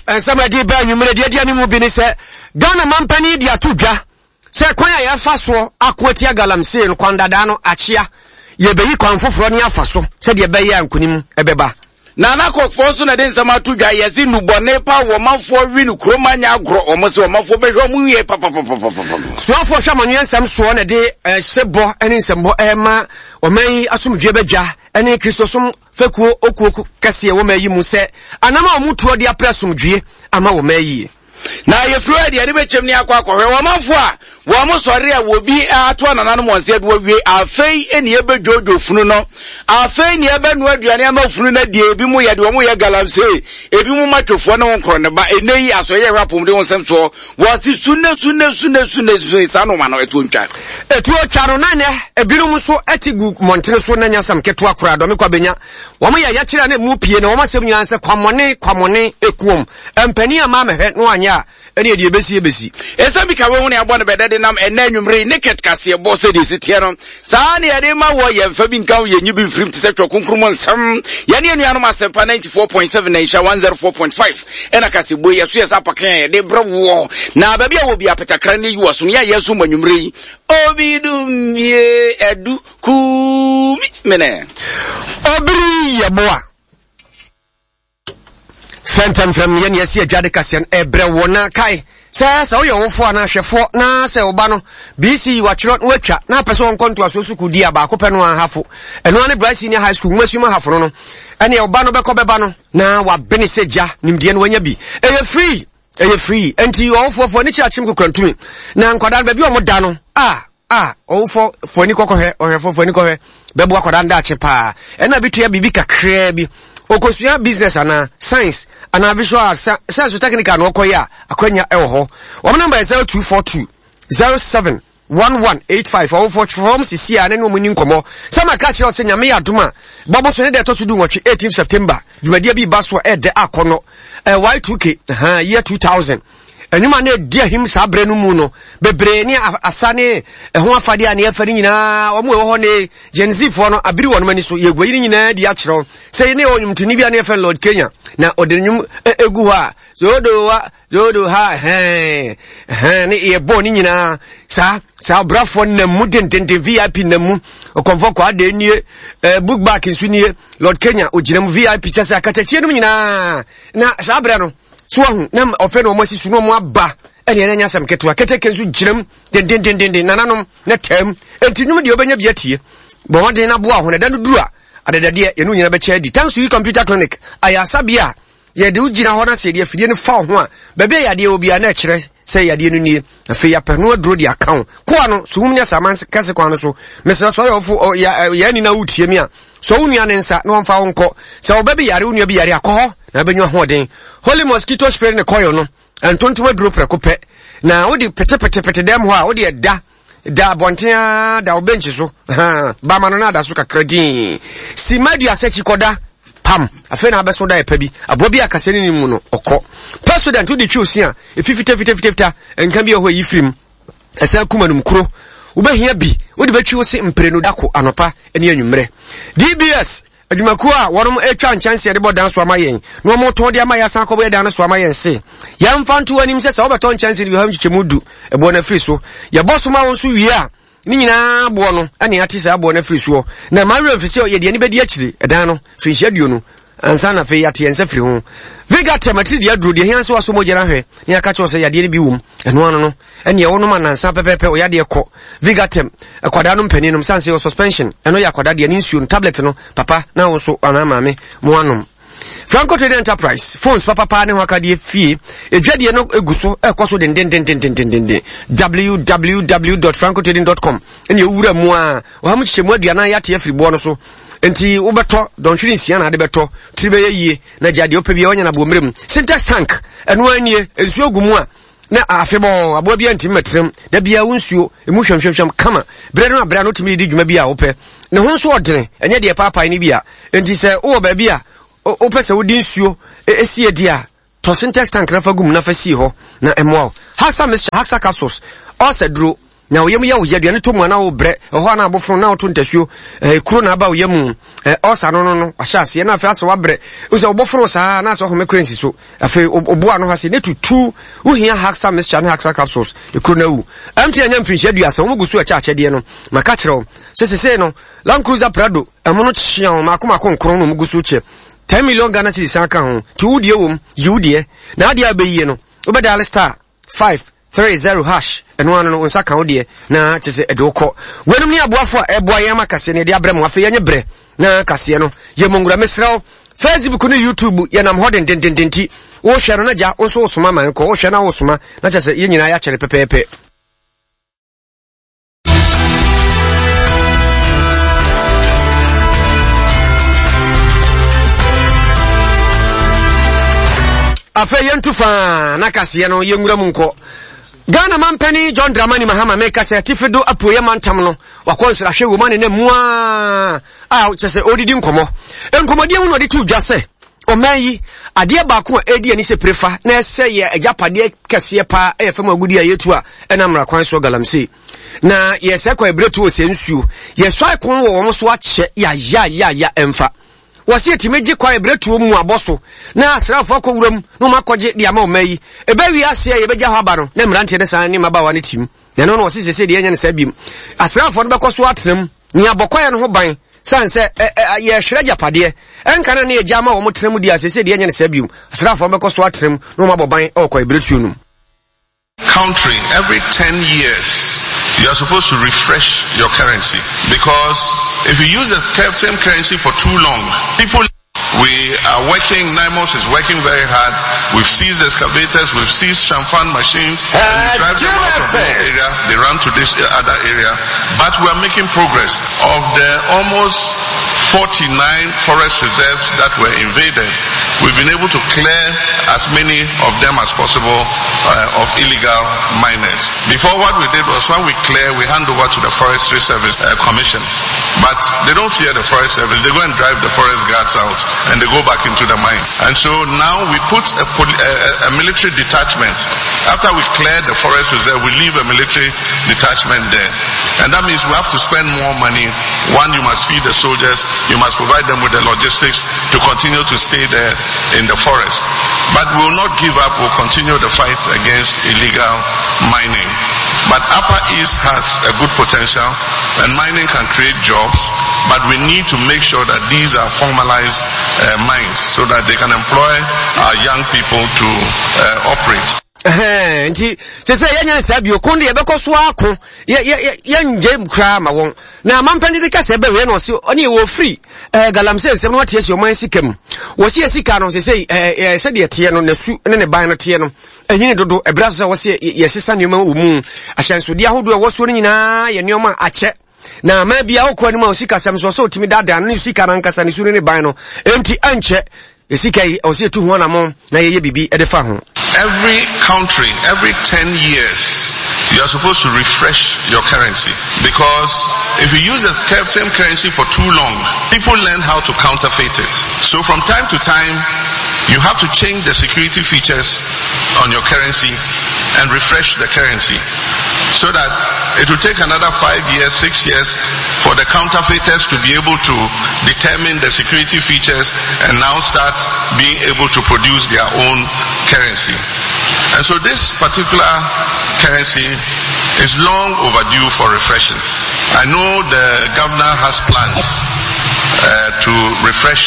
Nsɛm a ɛde ba anwummerɛ deɛ adi anim bi ne sɛ Ghana mampanin de ato dwa sɛ kwan a yɛfa soɔ ako atia galamsey no kwan dadaa no akyea yɛbɛyi kwan foforɔ ne afa so sɛdeɛ ɛbɛyɛ a nkonim ɛbɛba. Nana Kɔkfoɔ nso na ɛde nsɛm ato dwa yɛse nnubɔne pa wɔ ɔmanfoɔ we no kurom anyɛ agorɔ wɔn se ɔmanfoɔ bɛhwɛ wɔn wie papapapapapa. Soafoɔ hwɛ amanneɛ nsɛm soɔ na ɛde hyebɔ ne nsɛmbɔ ɛrema ɔman yi asomdwoeɛ badwa ne Kristosom fekuo okuo kɛseɛ wɔ ɔman yi mu sɛ anam a wɔtuo de apere asomdwoeɛ ama wɔ ɔman yie. Na yɛfiri hɔ deɛ ne bɛkyɛm ne akɔ akɔhwɛ wɔn manfo a wɔn sɔre a wɔbi ato anananom wɔn sɛ de wɔwie afei ne yɛbɛdwodwo funu no afei ne yɛbɛnoa aduane ama funu no adie ebi mu yɛde wɔn yɛ galamsey ebi mu matwofoɔ ne wɔn korɔ ne ba ɛnɛ yi asɔyɛ hwɛ apɔmuden ho nsɛm soɔ wɔte sunne sunne sunne sunne sunne saa noma no ɛtuo ntwa ɛtuo twa no na nɛ ebinom nso ɛte gu mmɔntene so na nyasam ketewa koraa dɔme kwa bɛnya wɔn yɛ yɛkyerɛ na emu pie na wɔn asɛm nyinaa sɛ kwammɔne kwammɔne ekuom Mpanin amma ammɛhwɛ na wɔanyɛ a, ɛneɛ deɛ ɛbɛsi ɛbɛsi. Ɛsɛ bi ka wei ho ne abɔ no bɛdɛ de nam ɛnɛ anwummere yi naked kaseɛbɔ sɛdeɛ ɛsi teɛ no saa ne yɛde ma wɔ yɛmfa bi nka ho yɛnyi bi mfirim te sɛ twerɛ kronkron mu nsɛm yɛne anuanom asɛmpa 94.7 na nhyira 104.5 ɛna kaseɛbɔ yi ɛso yɛ sɛ apakan a yɛde brɛ woɔ na baabi a wɔ bi apetakra ne yi wɔ so ne yɛ so mu anwummere yi obi dumbie adu kumi mene obiri yɛboa Fɛntɛmfrɛm yɛ nea ɛsi adwa de kaseɛ no ɛbrɛ wɔ na kae sɛ sɛ woyɛ ɔwofoɔ anaa hwɛfoɔ na sɛ wo ba no BC watwerɛ na watwa na apɛ sɛ ɔnkɔ ntoasoɔ sukuu di a baako pɛ no ahafo ɛno ara ne Bright Senior High School nwomasua mu ahafo no no ɛneɛ wo ba no bɛkɔ bɛba no na wabene sɛ gya nimdeɛ no wanya bi ɛyɛ free ɛyɛ free ɛnti ɔwofoɔ foɔ ani kyerɛ akyem kokora ntumi na nkwadaa no baabi a wɔn da no a A, ɔwofo, fo ani kɔkɔhwɛ, ɔhwɛfo, fo ani kɔhwɛ, bɛboa akwadaa no daakye paa. Ɛna bi tua biribi kakraa bi. Okosua business anaa science anaa visual arts, science technical na ɔkɔyɛ a, akwanya ɛwɔ hɔ. Wɔn namba yɛ 0242 07 1185. Ɔwofo fam sisi a ne ne wɔn ni nkɔmmɔ. Sɛ maka kyerɛ sɛ Nyame yɛ adom a, bɔbɔ so ne deɛ ɛtɔ so du nwɔtwe 18 September, dwumadie bi ba so a ɛɛdɛ akɔnɔ. Y2K, year 2000. Nnwom a na ɛdi ahim saa berɛ no mu no bebree ne asa ne ɛho afadeɛ a ne yɛfa no nyinaa wɔn ɛwɔ hɔ ne Gen Z foɔ no abiri wɔn ani so yɛgu ayi no nyinaa di akyerɛw sɛ ne ɔnwomtoni bi a ne yɛfɛ Lord Kenya na ɔde nnwom egu hɔ a zodo wa zodo ha hɛn hɛn ne yɛbɔ ne nyinaa saa saa ɔbrafoɔ nam mu dendenden VIP nam mu ɔkɔmfɔ kɔ adeɛ nie eh, book back nso nie Lord Kenya ogyina mu VIP kyɛ sɛ akatakyie nom nyinaa na saa berɛ no So wahu na ɔfɛ na wɔn asi so na wɔn aba ɛne ɛnyɛ asɛm ketewa keteke nso gyina mu dendendenden nananom na taa mu enti nnwom deɛ wobɛnya bi atie bɔ mmɔden na boa ho na ɛda no duru a adadadeɛ yɛne nyina bɛkyɛ adi thanks to you computer clinic ayɛ asabea a yɛde wo gyina hɔ na sɛ yɛde afidie no fa wo ho a baabi a yadeɛ wɔ biara na ɛkyerɛ sɛ yadeɛ no nie afei yɛapɛ no aduro de aka wo koa no so wom ne asaman kɛse kwan no so mesrɛ sɛ ɔyɛ ɔfo yɛ ani na wotie mi a Sɔ wo nua ne nsa na ɔmfa wo nkɔ. Sɛ wo ba bi yare, wo nua bi yare a, kɔ hɔ na wobɛnya ahoɔden. Holy mosquito spray ne coil no, ntontom aduro prɛko pɛ. Na wode petepetepete dɛm hɔ a, wode ɛda da abɔnten ara da wo bench so. Ba ma no na ada so kakra dinn. Sima aduasa akyi kɔda pam. Afei na abɛso da ɛpa bi. Aboa bi a kasa ne ne mu no, ɔkɔ. Pepsodent wode twi osi a, efi fitafitafitafita, nka bi wɔ hɔ a eyi firi mu. Ɛsan kum anum kuro. Wobɛhia bi wode bɛtwi wo se mprenu da ko anɔpa ne anwummerɛ. DBS adwumakuo a wɔnom atwa nkyɛnse de bɔ dan so ama yɛn na wɔn tɔn de ama yɛn asan akɔbɔ yɛ dan no so ama yɛn se yɛmfa nto anim sɛ sɛ wobɛtɔ nkyɛnse no yɛham nkyekyɛmu du ɛboɔ no afiri so yɛbɔ so ma wo nso wie a ne nyinaa boɔ no ɛne ate saa boɔ no afiri soɔ na ɛma werɛ mfi sɛ yɛde ani bɛdi akyire ɛdan no firinhyia aduonu ansa na afei yɛate yɛn nsa firi ho. Vigatem atiridii aduro deɛ hia sɛ wasɔ mogya no ahwɛ na yɛaka kyerɛ sɛ yadeɛ no bi wom ɛno ano no ɛneɛ wonom anansa pɛpɛpɛ wo yadeɛ kɔ. Vigatem akwadaa no mpanin nom sane sɛ yɛ suspension ɛno yɛ akwadaa deɛ ne nsuo no tablet no papa na wo nso anaa maame mo anom. Franco Trading Enterprise phones papapa ne ho akadeɛ fie edwadie no egu so ɛkɔ so dendendendendendenden www.francotrading.com ɛne ewura mu a ɔha mu kyekyɛ mu aduanan yɛate afiri boɔ no so Nti wobɛtɔ dɔnhwere nsia na ade bɛtɔ tiri bɛyɛ yie na gya deɛ wopɛ biara wanya no aboɔ mmerɛ mu. Sintex tank ɛno ara nie nsuo gu mu a na afebɔɔ aboa biara ntumi mɛtenam da biara wo nsuo emu hwamhwamhwam kama berɛ no aberɛ a no wotumi de di dwuma bi a wopɛ ne ho nso ɔdene ɛnyɛ deɛ paapae no bi a nti sɛ wowɔ baabi a wopɛ sɛ wode nsuo sie di a tɔ sintex tank na fa gu mu na fa sie hɔ na ɛmmoa wo. Haxa mixture, Haxa capsules, ɔsɛ duro. Na wo yam yɛ wo ya, aduane tɔ mu a na wobrɛ, ɛhɔ a na abofono na woto ntasuo, ɛɛ kuro na aba wo yam mu, ɛɛ ɔsa no no no, wahyɛ aseɛ na afei asɛ wabrɛ, wosɛ wobɔfono saa na asɛ ɔhome kora nsi so, afei obo ano ha se ne tutu, wohia Haxa mixture ne Haxa capsules, ekuro no awu. MTN anya mfirinhyia aduasa, wɔn gu so ɛkyɛ akyɛdeɛ no, maka kyerɛ wo, sɛ sesei no, Land Cruiser Prado, ɛmo no kyeaw, mako mako nkron na wɔn gu so kyɛ, 10 million Ghana cedis san ka ho, nti wo deɛ wom, yi wo deɛ, na adeɛ a wobɛyie no, wobɛdial star 5 30 hash ɛno ano no wo nsa ka wo deɛ na kyɛ sɛ ɛde wo kɔ. Weinom ne aboafo a ɛboa yɛn ama kaseɛ no yɛde abrɛ mo. Afei yɛnyɛ berɛ na kaseɛ no yɛ mo nwura. Mesrɛ wo, Facebook ne YouTube yɛnam hɔ dendendenden nti wohwɛ no na gya wo nso wosoma ma nkɔ wohwɛ na wosoma na kyɛ sɛ yɛn nyinaa yɛakyɛre pɛpɛɛpɛ. Afei yɛntu faa na kaseɛ no yɛnwura mu nkɔ. Ghana mampanin John Dramani Mahama meka sɛ atifi do apueɛ mantam no wakɔ nsrahwɛ wɔ mu ane na mu a a kyɛ sɛ ɔredidi nkɔmmɔ. Nkɔmmɔdeɛ mu na ɔde to dwa sɛ ɔman yi adeɛ baako a ɛredi ani sɛ pirefa na ɛsɛ yɛ agyapadeɛ kɛseɛ paa ɛyɛ fam agudi a yɛtu a ɛna mmara kwan soɔ galamsey na yɛsɛ kɔ ɛberɛ tu wɔ sɛ nsuo yɛsɔ akon wɔ wɔn so akyɛ yayayaya ɛmfa. Wɔse yɛtumi gye kwae berɛtuo mu abɔ so na asraafoɔ akɔ wuram na wɔn akɔgye de ama ɔman yi. Ɛbɛwie aseɛ a yɛbɛgya hɔ aba no na mmeranteɛ no san ne mmabaawa no tim. Na ɛno na wɔse sese deɛ ɛnyɛ no saa biom. Asraafoɔ no bɛkɔ so atena mu ne abɔ kwaeɛ no ho ban sane sɛ yɛhwerɛ agyapadeɛ. Ɛnka na ne yɛgya ama wɔn tena mu deɛ a sese deɛ ɛnyɛ no saa biom. Asraafoɔ no bɛkɔ so atena mu na wɔn abɔ ban wɔ kwae berɛtuo no mu. Country every 10 years you are supposed to refresh your currency because if you use the same currency for too long people we are working, NIMOS is working very hard. We've seized excavators, we've seized shamfan machines, and we drive them out of this area, they run to this other area. But we are making progress. Of the almost 49 forest reserves that were invaded, we've been able to clear as many of them as possible uh, of illegal miners. Before what we did was when we clear, we hand over to the Forestry Service uh, Commission. But they don't fear the Forest Service. They go and drive the forest guards out and they go back into the mine. And so now we put a, a, a military detachment. After we clear the forest reserve, we leave a military detachment there. And that means we have to spend more money. One, you must feed the soldiers. You must provide them with the logistics to continue to stay there in the forest. But we will not give up. We'll continue the fight against illegal mining. But Upper East has a good potential and mining can create jobs, but we need to make sure that these are formalized uh, mines so that they can employ our young people to uh, operate. nti sɛ sɛ yɛnyɛ saa bio ko de yɛbɛkɔ so ako yɛngye koraa ma wɔn na amampani de kasa ɛbɛwɛ na ɔse ɔne yɛwɔ firi eh, galamsey nsɛm no wate asi ɔman sika mu wɔsi yɛ sika no sɛ sɛ sɛdeɛ teɛ no nasu ne ne ban no teɛ no ɛnyini dodo ɛberɛ so sɛ wɔsi yɛsesa nneɛma wɔ mu ahyɛnsodeɛ ahodoɔ ɛwɔ soɔ no nyinaa yɛ nneɛma akyɛ na ama bia wokɔ anim a osikasɛm so ɔsɛ ɔtumi daadaa no ne sika no ankasa ne su ne ne ban no enti ankyɛ sika yi ɔsɛ yɛtu ho anamɔ na yɛyɛ biribi de fa ho. Every country, every 10 years, you are supposed to refresh your currency because if you use the same currency for too long, people learn how to counterfeit it. So from time to time, you have to change the security features on your currency and refresh the currency so that it will take another five years, six years for the counterfeiters to be able to determine the security features and now start being able to produce their own currency. And so this particular currency is long overdue for refreshing. I know the governor has plans uh, to refresh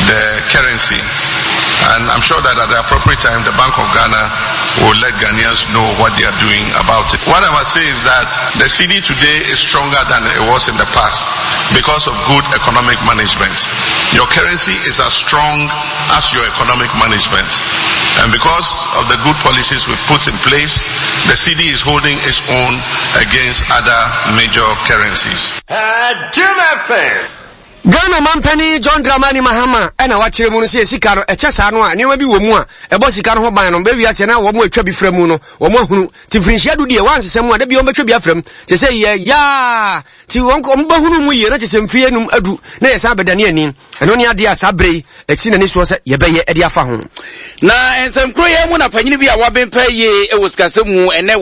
the currency. And I'm sure that at the appropriate time, the Bank of Ghana will let Ghanaians know what they are doing about it. What I must say is that the cedi today is stronger than it was in the past because of good economic management. Your currency is as strong as your economic management. And because of the good policies we put in place, the cedi is holding its own against other major currencies. Ghana manpanin John Dramani Mahama na wakyerɛ mu no sɛ sika no ɛkyɛ saa no a nneɛma bi wɔ mu a ɛbɔ sika no ho ban no bɛwi aseɛ na wɔn atwa bi fra mu no wɔn ahunu ti mfirinhyia du deɛ wɔansesa mu a da bi wɔn bɛtwa bi afra mu te sɛ yɛ yaa ti wɔn wɔn bɛhunu mu yie na te sɛ mfie num adu na yɛsan bɛdane ani ɛno ne adeɛ a saa berɛ yi ɛsi n'ani soɔ sɛ yɛbɛyɛ ɛde afa ho. Na nsɛm koro yi mu na panyin bi a waben pɛ yie wɔ sikasɛm mu ɛnɛ.